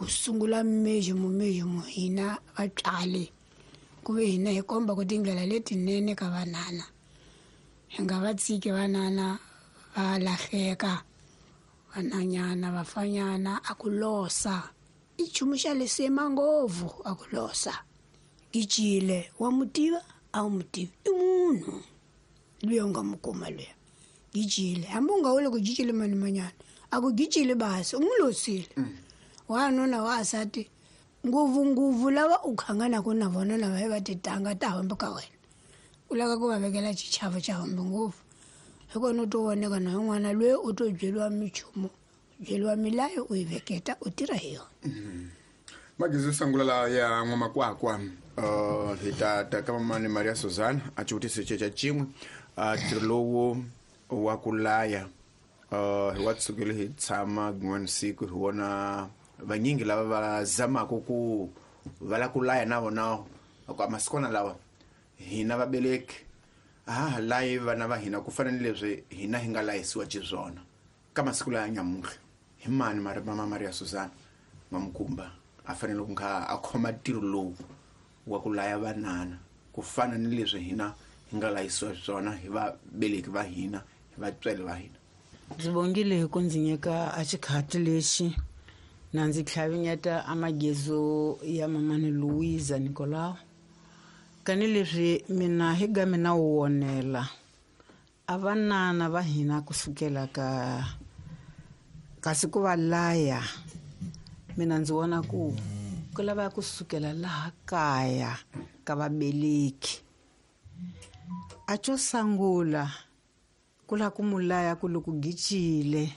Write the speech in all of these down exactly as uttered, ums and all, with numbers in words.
Ku sungula mesmo mesmo hina vatswari ku ve hina hi komba ku tindlela letinene ka vanana. Hi nga va tshiki vanana va lahleka, vananyana vafanyana a ku losa. I nchumu xa lisima ngopfu a ku losa. Gijile wa mu tiva a wu mu tivi i munhu luya u nga mu kuma luya. Gijile hambi u nga vuli ku gijile mani manyana a ku gijile basi u n'wi losile. Wanuna wasati ngopfungopfu lava u khanganaka na vona lava hi va titanga ta hambi ka wena u lava ku va vekela xichavo xa hambi ngopfu hi kona u to voneka na yin'wana loyi u to byeriwa minchumu byeriwa milayo u yi veketa u tirha hi yona. Magezi yo sungula la ya n'wamakwakwa uh, hi ta ta ka mamani Maria Suzana a xivutiso xa xin'we ntirho lowu wa ku laya uh, hi wa tsukile hi tshama rin'wana siku hi vona vanyingi lava va zamaka ku va la ku laya na vona ku masikwana lawa hina vabeleki a ha ha layi vana va hina ku fana ni leswi hina hi nga layisiwa xiswona ka masiku laya nyamuntlha hi mani mama Maria Suzana N'wamukumba a fanele ku kha a khoma ntirho lowu wa ku laya vanana ku fana ni leswi hina hi nga layisiwa swona hi vabeleki va hina hi vatswari va hina. Ndzi bongile hi ku ndzi nyika a xikhati lexi na ndzi tlhavinyeta a magezo ya mamani Louisa Nicolau. Kani leswi mina hi ga mina wu wonela a vanana va hina kusukela ka kasi ku va laya mina ndzi vona ku ku lava kusukela laha kaya ka vabeleki. A xo sungula ku la ku mulaya ku loko gicile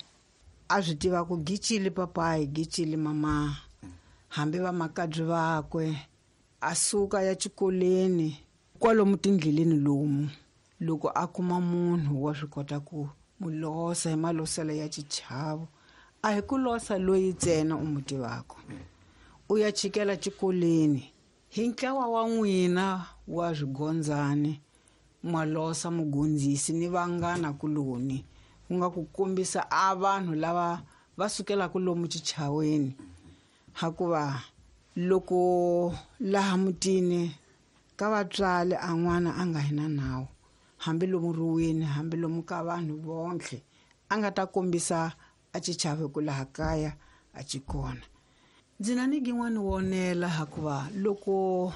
a swi tiva ku gicile papayi gicile mama hambi va makabyi vakwe a suka ya xikolweni kwalomu tindleleni lomu loko a kuma munhu wa swi kota ku mu losa hi maloselo ya xichavo a hi ku losa loyi ntsena u mu tivaka u ya chikela xikolweni hi ntlawa wa n'wina wa swigondzani malosa mugondzisi ni vanghana kuloni ku nga ku kombisa a vanhu lava va sukelaka lomu xichaweni hakuva loko laha mutini ka vatswari a n'wana a nga hina nawu hambi lomu ruweni hambi lomu ka vanhu vonke a nga ta kombisa a xichavo ku laha kaya a xi kona. Ndzi na ni gin'wani wonela hakuva loko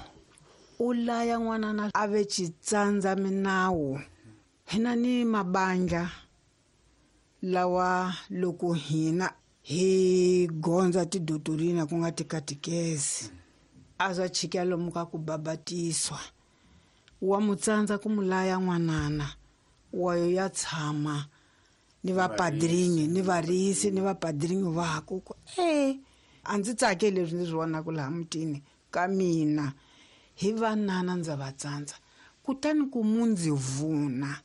u laya n'wanana a ve xitsandza minawu hina ni mabandla lawa loko hina hi gondza tidotorina ku nga tikatikezi a zwa chika lomu ka ku babatiswa wa mutsandza ku mulaya n'wanana wayo ya tshama ni vapadrinyi ni varisi ni vapadrinyi vaku ku e a ndzi tsakeli leswi ndzi swi vonaka laha mutini ka mina hi vanana ndza va tsandza kutani ku mu ndzi vuna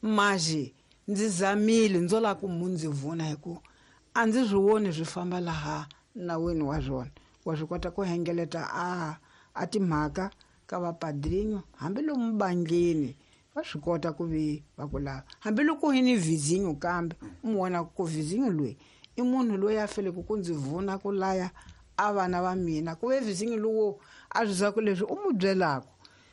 maji ndzi zamile ndzo lava ku mu ndzi vuna hi ku a ndzi swi voni swi famba laha nawini wa swona wa swi kota ku hengeleta a a timhaka ka vapadrinyo hambi lomu bandleni va swi kota ku vi va ku lava hambi loko hi ni vizinyo kambe u mu vona ku vizinyo loyi i munhu loyi a feleke ku ndzi vuna ku laya a vana va mina ku ve vizinyo lowo a swi zwa ku leswi u mu byelaka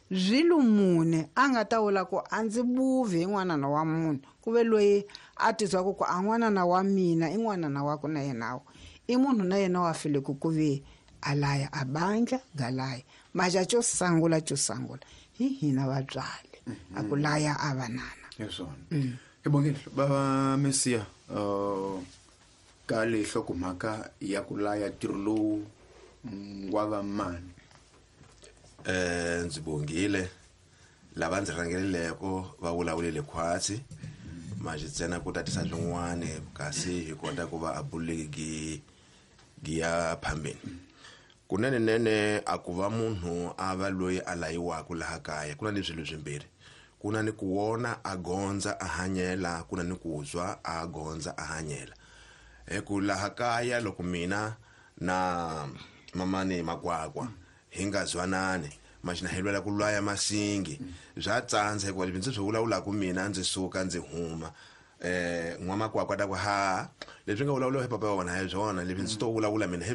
swilo mune a nga ta vula ku a ndzi buvi hi n'wanana wa munhu ku ve loyi a tizwaku ku a n'wanana wa mina i n'wanana wa ku na yenawo i munhu na yena wa feleke ku ve a laya a bandla galaya maja xo sungula xo sungula hi hina vatswari a ku laya a vanana. Hi swona hi bongile bava Mesiya uh, ka le hlokomhaka ya ku laya ntirho lowu wa va mani. Eh ndzi bongile lava ndzi rhangeleleko va vulavulele khwatsi manje ntsena ku tatisa swin'wana kasi hi kota ku va a buleki gi ya phambeni kunene nene a ku va munhu a va loyi a layiwaka laha kaya ku na ni swilo swimbirhi ku na ni ku wona a gondza a hanyela ku na ni ku zwa a gondza a hanyela hi ku laha kaya loko mina na mamani Makwakwa hi nga zwanani manje hi lwela ku lwaya masingi bya tsandza hikuva leswi ndzi swi vulavulaka mina ndzi suka ndzi huma eh n'wamakwakwa ta ku ha leswi nga vulavuriwa hi papa wa wena hi swona leswi ndzi to vulavula mina hi